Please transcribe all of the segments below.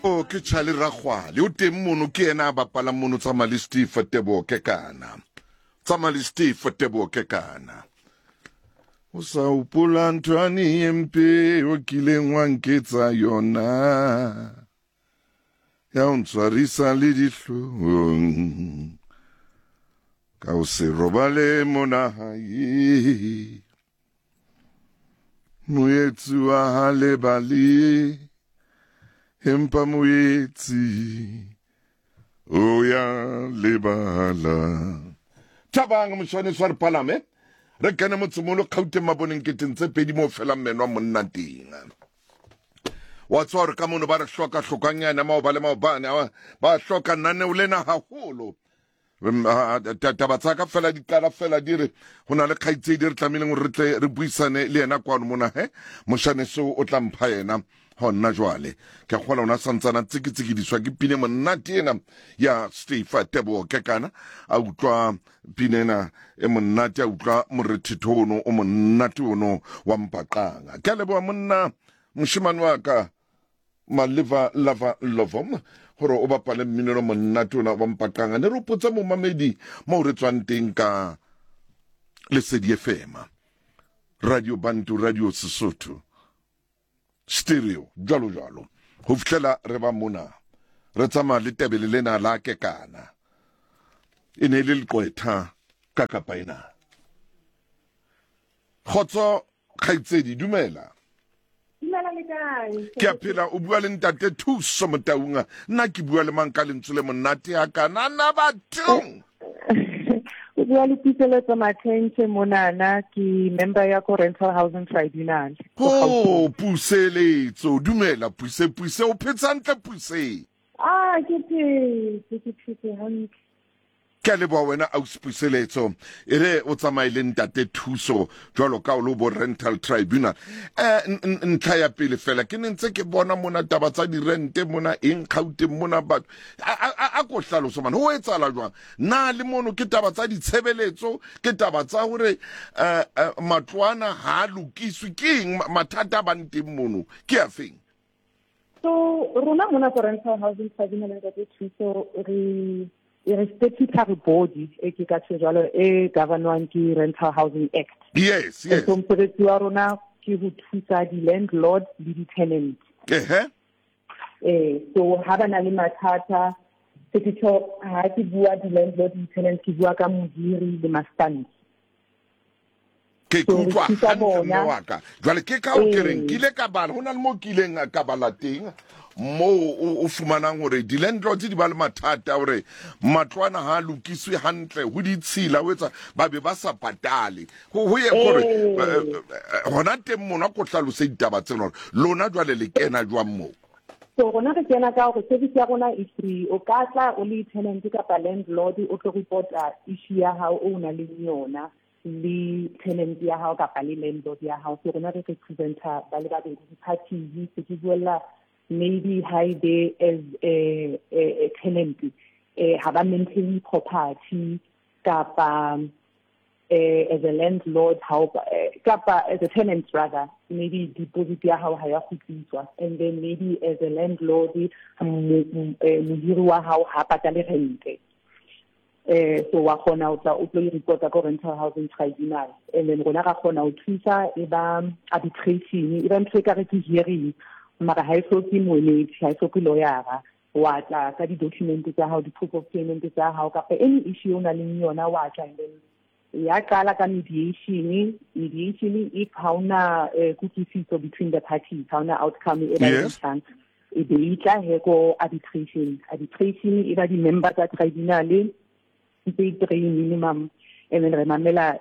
O ke Charlie Rakgwale o teng mono, ke yena a bapalang mono. Tsamaya le Steve Teboho Kekana, tsamaya le Steve Teboho Kekana. O sa hopola nthwane e mpe o kileng wa nketsa yona, ya o ntshwarisa le dihlong ka o se robale mona hae. Moetsi wa ha lebale, empa moetsi o ya lebala. Thabang moshwane swa re palame re kene motsemolo Kgauteng maboneng keteng tse pedi mo felang meno a monna teng. Wa tswa gore ka mono ba re hloka hlokanyana maoba le maobane, ba hloka naneo lena haholo. Taba tsa ka fela di qala fela di re go na le kgaitsedi re tlamehileng gore re tle re buisane le yena kwano mona. He mošaneso o tla mpha yena gonna jwale. Ke a kgola ona santsana tsikitsikidiswa ke pine monate ena ya Steve Teboho Kekana. A utlwa pine ena e monate, a utlwa morethetho ono o monate ono wa mpaqanga. Ke a leboha monna moshemane wa ka Maleva Lava Lovom gore o bapale mminelo monate ona wa mpaqanga. Ne re opotsa momamedi mo re tswang teng ka Lesedi FM, Radio Bantu, Radio Sesotho Stereo, jwalo jwalo, ho fihlela re ba mona re tsamaya le tebele lena la Kekana. E ne e le leqwetha ka kapa ena. Kgotso kgaitsedi, dumela. Dumela, le kae? Ke a phela. O bua le ntate Thuso Motaunga. Nna ke bua le mang ka lentswe le monate ya kana na bathong? O bua le Puseletso Mathentshe monana, ke member ya ko Rental Housing Tribunal. Oh, Puseletso, dumela Puse. Puse, o phetse hantle Puse? Ah, ke phetse, ke phetse hantle. Ke a leboha wena ausi Puseletso. E re o tsamaye le ntate Thuso jwalo ka o le bo Rental Tribunal. Ntlha ya pele fela, ke ne ntse ke bona mona taba tsa dirente mona eng Gauteng mona batho. A ko hlaloso man, ho etsahala jwang? Na le mono ke taba tsa ditshebeletso, ke taba tsa hore matlwana ha a lokiswe, ke eng mathata a bang teng mono ke a feng? So rona mona ko Rental Housing Tribunal, ntate Thuso, re re statutory body e ke ka tjho jwalo e governwang ke Rental Housing Act. Yes. So mosebetsi wa rona ke ho thusa di-landlord le di-tenant. So ha ba na le mathata, se ke tjho ha ke bua di-landlord le di-tenant, ke bua ka mohiri le mastandi. Ke ke utlwa hantle mme wa ka. Jwale ke ka o ke reng ke ile ka bala, ho na le mo ke ileng ka bala teng moo o fumanang hore di-landlords di ba le mathata hore matlwana ha a lokiswe hantle, ho ditshila, ho etsa ba be ba sa patale ho ye hore hona teng mona. Ko hlalose ditaba tsena hore lona jwale le kena jwang moo? So rona re kena ka hore service ya rona e free. O ka tla o le tenant kapa landlord, o tlo reporta issue ya hao o na leng yona le tenant ya hao kapa le landlord ya hao. So rona re representa ba le babedi, di-parties. Se ke buella maybe haebe as a tenant ha ba maintain property, kapa as a landlord how kapa as a tenant rather, maybe deposit ya hao ha ya kgutliswa, and then maybe as a landlord mohiri wa hao ha patale rente. So wa kgona o tla o tlo reporta ko Rental Housing Tribunal, and then rona ra kgona ho thusa. E ba arbitration, e ba ntho e ka re ke hearing, mara ha e hloke moemedi, ha e hloke lawyera. Wa tla ka di-document tsa hao, di-proof of payment tsa hao, kapa any issue o nang le yona, wa tla, and then ya qala ka mediation. Mediation, if ha ona kutlwisiso between the parties, ha ona outcome e ba e tlang, e be e tla he ko arbitration. Arbitration e ba di-member tsa tribunal tse three minimum, and then re mamela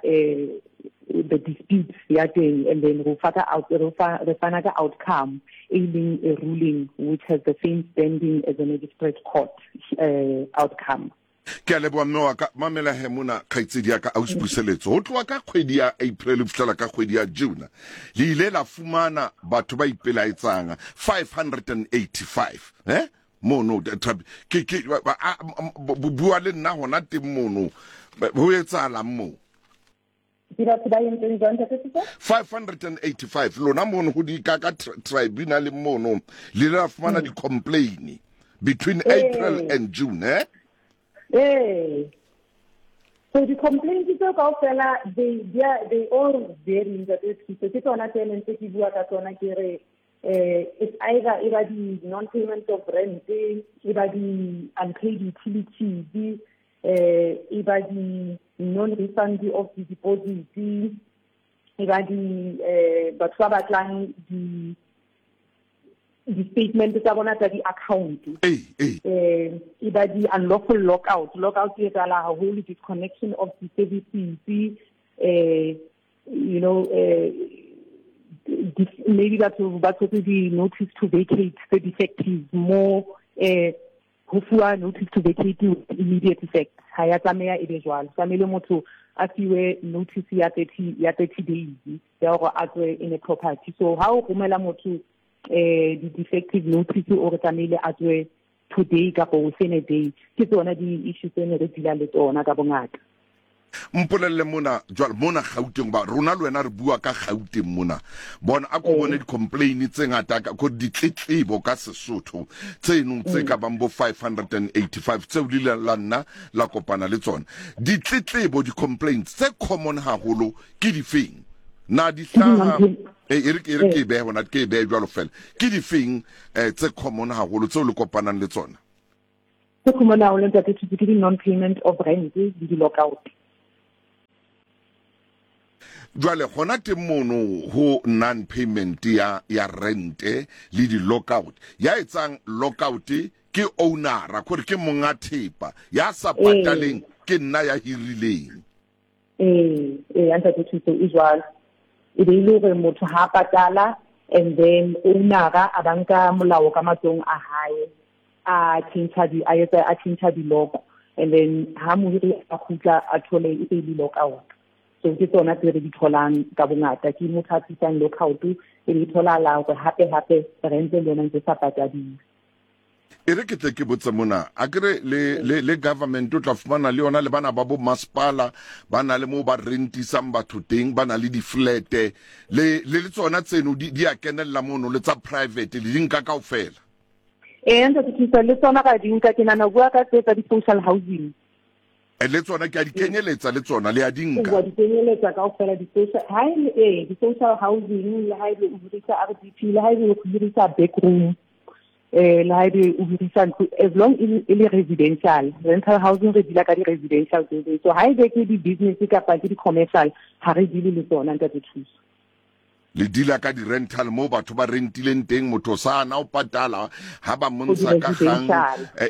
the dispute ya teng, and then re fa ka out re fa re fana ka outcome e leng a ruling which has the same standing as a magistrate court outcome. Ke a leboha mme wa ka. Mamela he mona kgaitsedi ya ka ausi Puseletso, ho tloha ka kgwedi ya April ho fihlela ka kgwedi ya June le ile la fumana batho ba ipelaetsang 585 mono. Ke bua le nna hona teng mono, ho etsahalang moo? Ke batho ba entseng jwang, Ntate Sisa? 585 lona mono ho di ka ka tribunal mono le la fumana di complain between April and June eh? Ee. So di-complaints tseo kaofela they all vary, Ntate Thuso. Ke tsona tse neng tse ke bua ka tsona ke re it's either e ba di non-payment of rent, e ba di unpaid utilities, e ba di non-refund of the deposit, e ba di batho ba batlang di di-statement tsa bona tsa di-account. E ba di unlawful lockout. Lockout e etsahala haholo, disconnection of the services, maybe batho ba tshotse di-notice to vacate tse defective mo, ho fuwa notice to vacate with immediate effect. Ha ya tlameha e be jwalo, tlamehile motho a fiwe notice ya 30, ya 30 days ya hore a tswe in a property. So ha o romela motho di-defective notice, o re tlamehile a tswe today kapa within a day. Ke tsona di-issue tse ne re deala le tsona ka bongata. Mpolelle mona jwale mona Gauteng, ba rona le wena re bua ka Gauteng mona, bona a ko bone di-complain tse ngata ka ko ditletlebo ka Sesotho tseno tse ka bang bo 585 tseo le ileng la nna la kopana le tsona. Ditletlebo, di-complaints tse common haholo ke difeng? Na di hlaha e re ke e behe hona, ke e behe jwalo fela, ke difeng tse common haholo tseo le kopanang le tsona? Tse common haholo, Ntate Thuso, ke di-non-payment of rent le di-lockout. Jwale gona teng mono ho non-payment ya rente le di-lockout, ya etsang lockout ke ownera, kore ke monga thepa, ya sa pataleng ke nna ya hirileng. Ee, ee, Ntate Thuso, e jwalo. E be ile hore motho ha patala and then ownera a ba nka molao ka matsohong a hae, a change di, a etsa, a change di-lock, and then ha mohiri a kgutla a thole e se le lockout. So ke tsona tse re di tholang ka bongata, ke motho a tlisang lockout e be tholahala hore hape hape rent le yona ntse sa patadiwe. E re ke tle ke botse mona, a kere le government o tla fumana le yona le bana ba bo masepala ba na le moo ba rentisang batho teng, ba na le di-flat-e le tsona tseno di a kenella mono, le tsa private le di nka kaofela? Ee, Ntate Thuso, le tsona ra di nka. Ke nahana o bua ka tse tsa di-social housing. Le tsona ke a di kenyeletsa, le tsona le a di nka? Wa di kenyeletsa kaofela di-social, ha e le, ee, di-social housing, le ha ebe o hirisa RDP, le ha ebe o hirisa backroom, le ha ebe o hirisa ntlo, as long e le residential. Rental housing re deala ka di-residential building. So ha ebe ke di-business kapa ke di-commercial, ha re deale le tsona, Ntate Thuso. Le deala ka di-rental moo batho ba rentileng teng, motho sa na o patala, ha ba montsha ka kgang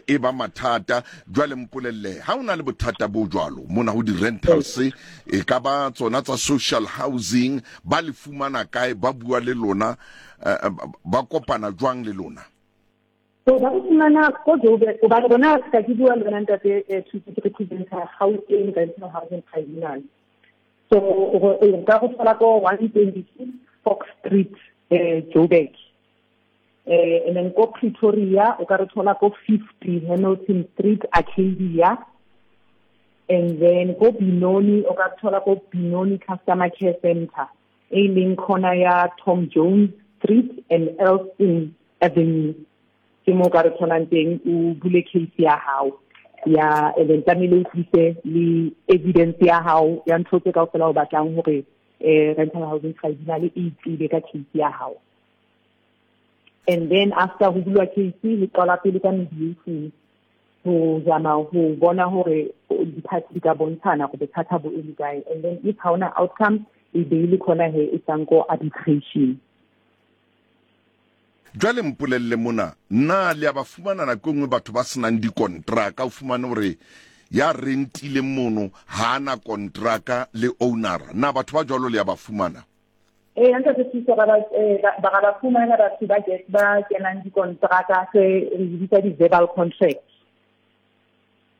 e ba mathata. Jwale mpolelle, ha o na le bothata bo jwalo mona ho di-rentals, e ka ba tsona tsa social housing, ba le fumana kae, ba bua le lona, ba kopana jwang le lona? So ba re fumana ko Joburg, hobane rona ka ke bua le wena, Ntate Thuso, ke representa Gauteng Rental Housing Tribunal. So o ka go thola ko 126 Fox Street, Joburg. And then ko Pretoria o ka re thola ko 50 Hamilton Street, Arcadia. And then ko Benoni o ka re thola ko Benoni Customer Care Center, e leng corner ya Tom Jones Street and Elston Avenue. Ke mo ka re tholang teng, o bule case ya hao ya, and then tlamehile o tlise le evidence ya hao ya ntho tse kaofela o batlang hore Rental Housing Tribunal e tsebe ka case ya hao. And then after ho bulwa case, le qala pele ka mediation ho zama ho bona hore di-party di ka bontshana hore bothata bo eme kae. And then if ha hona outcome, e be le khona he e tsang ko arbitration. Jwale mpolelle mona, na le a ba fumana nako e nngwe batho ba senang dikontraka, o fumane hore ya rentileng mono ha ana kontraka le ownera, na batho ba jwalo le a ba fumana? Ee, Ntate Thuso, ra ba fumana batho ba kenang dikontraka tse re di bitsa di-verbal contract.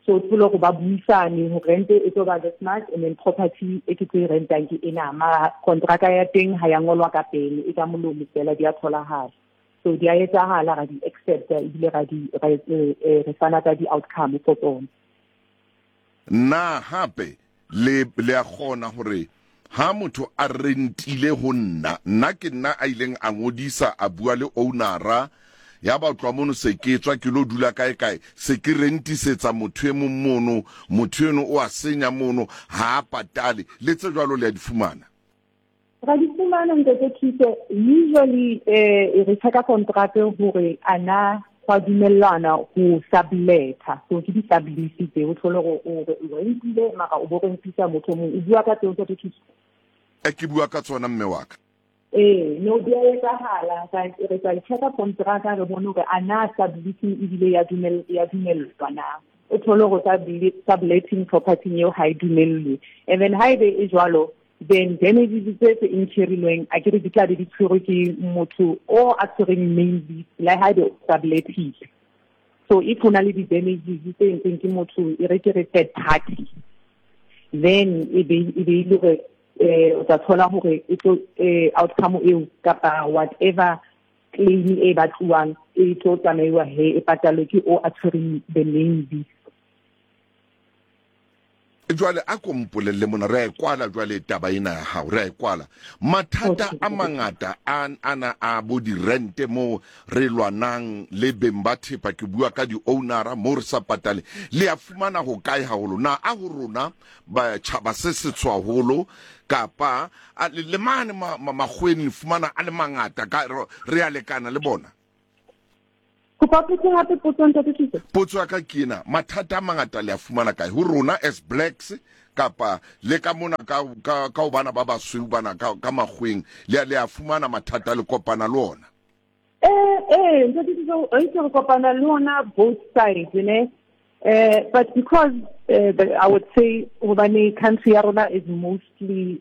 So thole hore ba buisane hore rent e tlo ba this much, and then property e ke tlo e rentang ke ena, mara kontraka ya teng ha ya ngolwa ka pele, e ka molomo fela, di a tholahala. So di a etsahala, ra di accepta ebile re fana ka di-outcome for tsona. Na hape le a kgona hore Ha motho a rentile ho nna, nna ke nna a ileng a ngodisa, a bua le ownara, ya ba tloha mono se ke tswa ke lo dula kae kae, se ke rentisetsa motho e mong mono, motho eno o a senya mono, ha a patale, le tse jwalo le a di fumana? Ra di fumana, Ntate Thuso. Usually re checka contract hore a na gwa dumellana go subleta. So ke di-sublease tse o thole gore o rentile mara o bo rentisa motho mongwe. O bua ka tseo, Ntate Thuso? E ke bua ka tsona, mme wa ka. Ee, no, di a etsagala. Re tla checka contract re bone gore a na subleasing ebile ya dumellwa na. O thole gore subletting property eo ha e dumellwe. And then ha ebe e jwalo, then damages tse tse incurrilweng a ke re di tla be di tshwerwe ke motho o a tshwereng main lease le ha ebe o subletile. So if ho na le di-damages tse entsweng ke motho, e re ke re third party, then e be e be le hore o tla thola hore e tlo outcome eo kapa whatever claim e batluwang e tlo tsamaiwa he e patalwe ke o a tshwereng the main lease. Jwale a ko mpolelle mona, re a e kwala jwale taba ena ya hao, re a e kwala. Mathata a mangata a ana a bo dirente moo re lwanang le beng ba thepa, ke bua ka di-ownera moo re sa patale, le a fumana ho kae haholo? Na a ho rona ba tjhaba se setsho haholo, kapa le mane makgoweng le fumana a le mangata, ka re a lekana le bona? Kopa potso hape, potso, Ntate Thuso. Potso ya ka ke ena, mathata a mangata le a fumana kae? Ho rona as blacks, kapa le ka mona ka ho bana ba basweu bana ka makgoweng, le a fumana mathata, le kopana le ona? Ntate Thuso, re itse re kopana le ona both sides, ne? But because I would say hobane country ya rona is mostly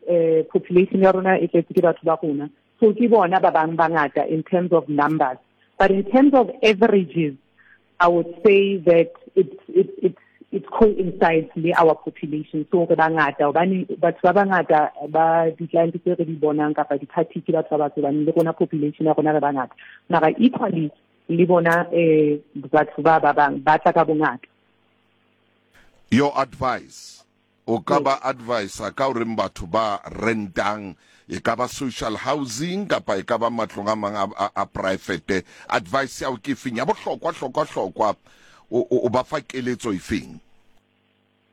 population ya rona e tletse ke batho ba rona, so ke bona ba bang bangata in terms of numbers. But in terms of averages, I would say that it coincides le our population. So re bangata, hobane batho ba bangata ba di-client tse re di bonang kapa di-party ke batho ba batsho, hobane le rona population ya rona re bangata. Mara equally le bona batho ba ba bang ba tla ka bongata. Your advice, o ka ba advisor ka horeng batho ba rentang, e ka ba social housing kapa e ka ba matlong a mang a private, advice ya o ke feng ya bohlokwa hlokwa hlokwa, o ba fa keletso e feng?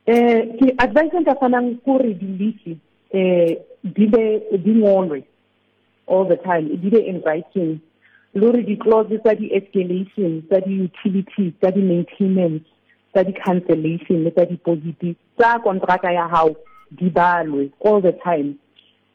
Ke advice nka fanang kore di-lease di be di ngolwe all the time, di be in writing, le hore di-clause tsa di-escalation, tsa di-utilities, tsa di-maintenance, tsa di-cancellation le tsa deposit tsa kontraka ya hao di balwe all the time.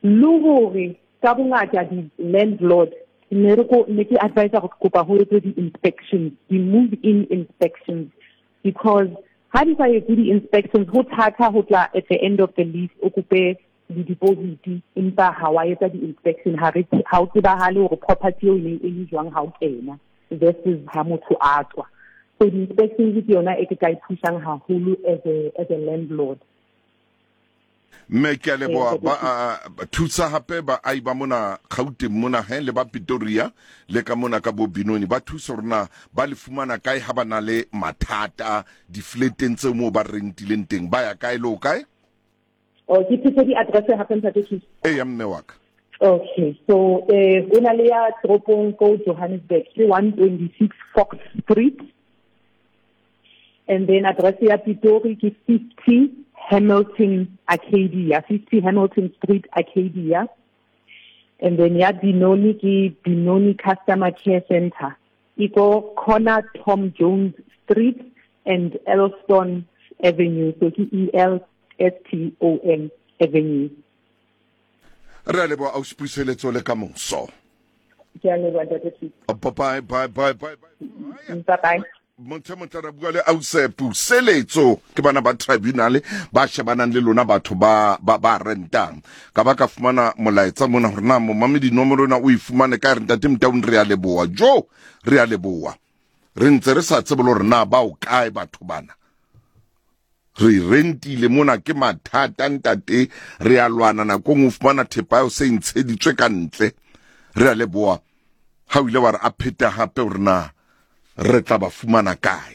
Le hore ka bongata di-landlord ne re ko ne ke advise go kopa ho etswe di-inspections, di-move-in inspections, because ha di sa etse di-inspections ho thata ho tla at the end of the lease o kope di-deposit, empa ha wa etsa di-inspection, ha re ha o tsebahale hore property eo e ne e le jwang ha o kena versus ha motho a tswa. So di-inspections ke yona e ke ka e thusang haholo as a landlord. Mme ke a leboha, ba thusa hape baahi ba mona Gauteng mona he le ba Pretoria le ka mona ka bo Benoni, ba thusa hore na ba le fumana kae ha ba na le mathata di-flateng tseo moo ba rentileng teng, ba ya kae le ho kae? Oh, ke phetse di-address hape, Ntate Thuso? Eya, mme wa ka. Okay, so o na le ya toropong ko Johannesburg ke 126 Fox Street, and then address ya Pitori ke 50 Hamilton Arcadia, 50 Hamilton Street Arcadia, and then ya Benoni ke Benoni Customer Care Center, e ko corner Tom Jones Street and Elston Avenue, so ke E L S T O N Avenue. Re a leboha, ausi Puseletso, le ka moso. Ke a leboha, Ntate Thuso. Bye bye bye bye bye. Bye bye. Motho motle re bua le ausi Puseletso, ke bana ba tribunal ba shebanang le lona batho ba ba ba rentang. Ka ba ka fumana molaetsa mona hore na momamedi nomoro ena o e fumane ka re Ntate Motaung, re a leboha. Jo, re a leboha. Re ntse re sa tsebe le hore na ba o kae batho bana. Re rentile mona ke mathata ntate, re a lwana nakong o fumana thepa eo se ntsheditswe ka ntle. Re a leboha ha o ile wa re a pheta hape hore na re tla ba fumana kae.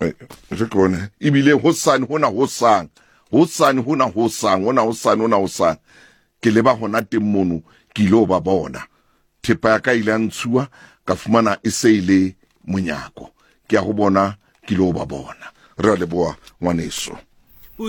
Re ke bone ebile hosane hona hosang. Hosane hona hosang, hona hosane, hona hosane. Ke leba hona teng mono, ke ile ba bona. Thepa ya ka ile ya ntshuwa, ka fumana e se e le monyako. Ke ya ho bona, ke ile ba bona. Re a leboha ngwaneso.